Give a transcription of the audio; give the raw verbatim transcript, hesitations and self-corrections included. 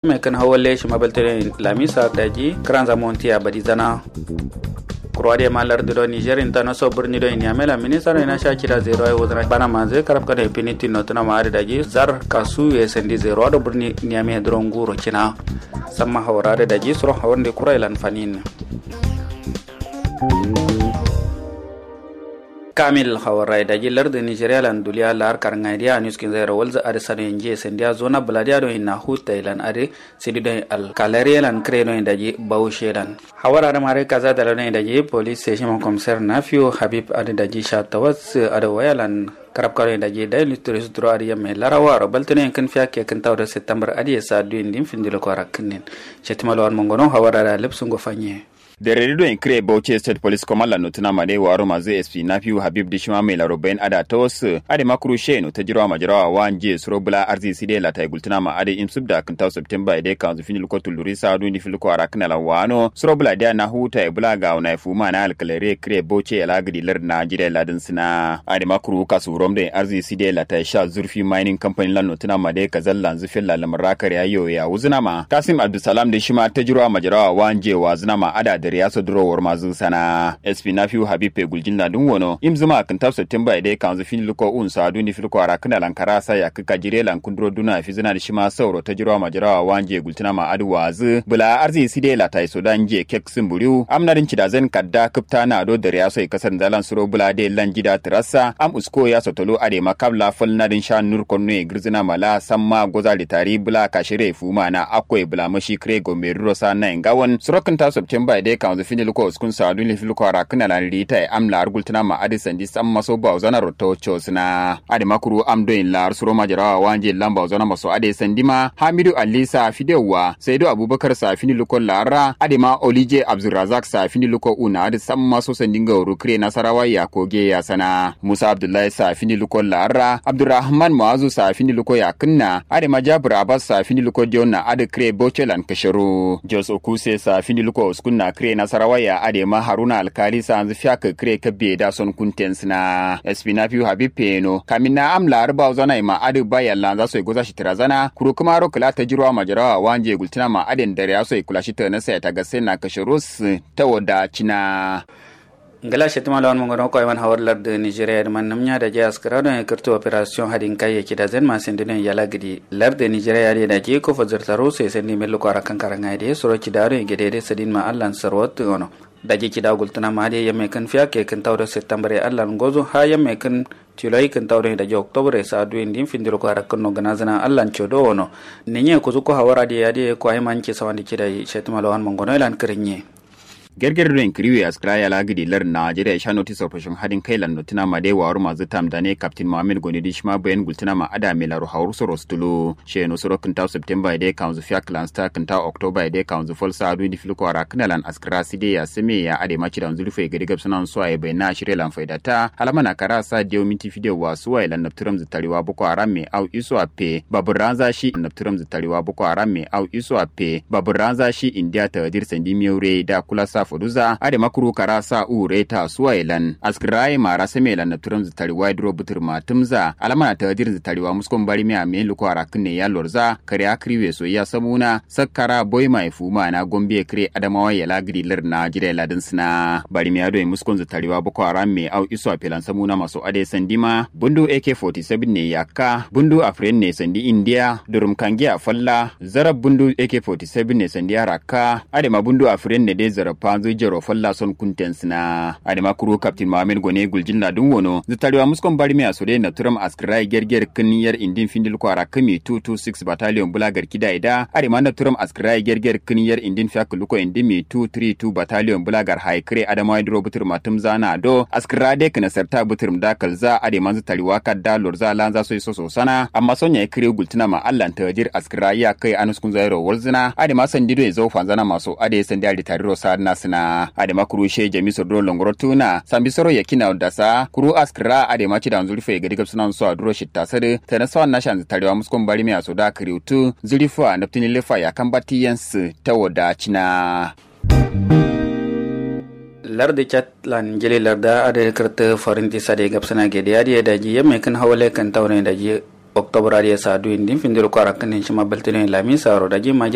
Mai kǝn hawalle shima baltǝ doi lamisa daji kǝranza montiya badizana. Kuro adǝ ye ma lardǝ do niger inta naso bǝrni doi niyame lan minista doi nasha cida zero ai wuzǝna bana manzǝ karabka doi finiti notǝna ma adǝ daji zar kasu ye sandi zero ado bǝrni niyame duro nguro cina. Samma hawar adǝ daji suro hawar nde kura ilan fanin. Kamil hawarrai daji lardǝ nigeria lan duliya la'ar karngai diya anuskin zairo walzǝ adǝ sado ye njiye sandiya zona bǝladiya do hinna hutta ilan adǝ sidi do alkalariye lan kǝre do daji baushe lan. Hawar adǝ mare kaza dala do daji police station komisar nafiu habib adǝ daji sha tawas adǝ waya lan karabka do daji daily tourist duro adǝ yamme larawa ro baltǝ do kǝn fiya ke kǝn tawo do september adǝ ye sa duyin din findilo kwara kǝnnin. Shetima lawan mongono hawar adǝ lipsungo fanye. Dereri doyin kǝre bauchi state police command lan notǝna ma dai waro mazǝ sp nafiu habib dǝ shima mai laro bayin adǝ tawas adǝ ma kuru sheno tajiro majarawa wa njiye suro bǝla arzi side latai gultǝna ma adǝ imsubda kǝntau september ye dai kanzu fini luko tulluri sa duni fini luko arakǝna lan wano suro bǝla diya na huta ye bǝla gawo na ye fuma na alkalare kǝre bauchi ye la gǝdi lardǝ na jire ladǝn sǝna. Adǝ ma kuru kasu rom doyin arzi side latai sha zurfi mining company lan notǝna ma dai kazal lanzǝ fella lamar rakare ayo ya wuzǝna ma kasim abdulsalam dǝ shima tajiro majarawa wa njiye wazǝna ma adǝ dare yaso duro warmazǝ sana. Sp nafiu habib pe guljin ladun wono imzuma kǝntau september ye dai kanzu fini luko un sa duni fini luko arakǝna lan kara sa yakkǝ kajire lan kunduro duna fizǝna dǝ shima sauro tajiro majarawa wa njiye gultǝna ma adǝ wazǝ bǝla arzi side latai so da njiye kek sǝmburiu amna dǝn cida zen kadda kǝpta na do dare yaso ye kasar nzalan suro bǝla de lan jida tǝrassa am usko yaso tolo adǝ ma kabla fal na dǝn sha nur konno ye gǝrzǝna ma la samma goza litari bǝla kashire fuma na akko ye bǝla mashi kǝre gombe duro sa na ye ngawon suro kǝnta september ye dai kanzu fini luko uskun sa duni fini luko arakǝna lan rita ye am la'ar gultǝna ma adǝ sandi samma so bawo zana rotto cosǝna. Adǝ ma kuru am doyin la'ar suro majarawa wa njiye lan bawo zana maso adǝ ye sandi ma hamidu ali sa fidewa saidu abubakar sa fini luko la'arra adǝ ma olije abdulrazak sa fini luko una adǝ samma so sandi ngauru kǝre nasarawa ya koge ya sana musa abdullahi sa fini luko la'arra abdulrahman mu'azu sa fini luko ya kǝnna adǝ ma jabir abbas sa fini luko diyo na adǝ kǝre bauchi lan kǝshiro jos okuse sa fini luko uskunna kǝre nasarawa ya adǝ ma haruna alkali sa nzǝ fiya kǝ kǝre kabbe da son kunten sǝna. Sp nafiu habib peno kamin na am la'ar bawo zana ye ma adǝ ba yalla nza so ye goza shi tǝra zana kuru kǝmaro kǝla tajiro majarawa wa njiye gultǝna ma adǝ ye dare yaso ye kula shi tǝra nasa ye tagasse na kǝshiro sǝ tawo da cina. Ngla shetima lawan mongono ko ayman hawar lardǝ nigeria dǝ man namnya daji askǝra don ye kǝrtu operation hadin kai ye cida zen ma sandi don ye yala gǝdi lardǝ nigeria dǝ daji ko fazartaro so ye sandi millu ko arakan karanga ye dǝ suro cida don ye gede dǝ sadin ma allan sarwat gono. Daji cida gultǝna ma dǝ yamme kǝn fiya ke kǝn tawo do september ye allan gozo ha yamme kǝn tilo ye kǝn tawo don ye daji october ye sa duyin din findiro ko arakan no gǝnazǝna allan codo wono. Ninye kuzu ko hawar adǝ ye adǝ ye ko ayman ci sawandi cida ye shetima lawan mongono ye lan kǝrinye. Gerger doyin kǝriwe askǝra yala gǝdi lardǝ najeriya sha notice operation hadin kai lan notǝna ma dai waro mazǝ tam dane captain mohammed goni dǝ shima bayan gultǝna ma adǝ amelaro hawur soro stulu sheno soro kǝnta september ye dai kanzu fiya kǝlanzǝ ta kǝnta october ye dai kanzu fal sa duni fili ko arakǝna lan askǝra side ya same ya adǝ ma cida nzulu fai gadi gabsǝna nsuwa ye bayan na shire lan faida ta halama na kara sa diyo minti fidiyo wa suwa ye lan nabtǝram zǝ tariwa boko haram me au isu appe babur ranza shi nabtǝram zǝ tariwa boko haram me au isu appe babur ranza shi indiya tagadir sandi miyau re da kula sa foduza adǝ ma kuru kara sa u re ta suwa ye lan askǝra ye mara same lan nabtǝram zǝ tariwa ye duro butǝr ma tǝmza alama na tagadir zǝ tariwa muskon bari me amme luko arakǝn ne ya lorza kare akǝri we so ya samuna sakkara boima ye fuma na gombe kǝre adamawa ye la gǝdi lardǝ najeriya ye ladǝn sǝna bari me ado ye muskon zǝ tariwa boko haram me au isu appe lan samuna maso adǝ ye sandi ma bundu ak forty-seven ne yakka bundu afren ne sandi indiya durum kangiya falla zarab bundu ak forty-seven ne sandi arakka adema bundu afiren ne de zarab panzu jero falla son kunten sina adema kuru captain mohammed gone guljin ladun wono zitariwa muskon barmiya so de nabturam askira gerger kin yar indin findil kwara kami two two six battalion bula garki da ida adema nabturam askira gerger kin yar indin fiak luko indin mi two three two battalion bula gar hai kire adama duro butur matum zana do askira de kina sarta butur da kalza adema zitariwa kadda lorza lanza so so sana amma sonya kire gultuna ma allan tajir askira ya kai anuskun zairo walzina adema sandi do zo fanzana maso ade sandi ali tariro sa na sina adema kuru she jami so do longoro tuna sambi soro yakina dasa kuru askira adema ci da zurfe gadi gabsuna so aduro shitta sade tana sawan nashan tarewa muskon bari me aso da kiriutu zurifa naftini lefa ya kambati yens tawo da cina lardi chat lan jili larda ade kirti farinti sade gabsuna gede ade daji yamme kin hawale kan taure daji oktobar ade sa duyin din findiro kwara kan shima baltine lamisa ro daji ma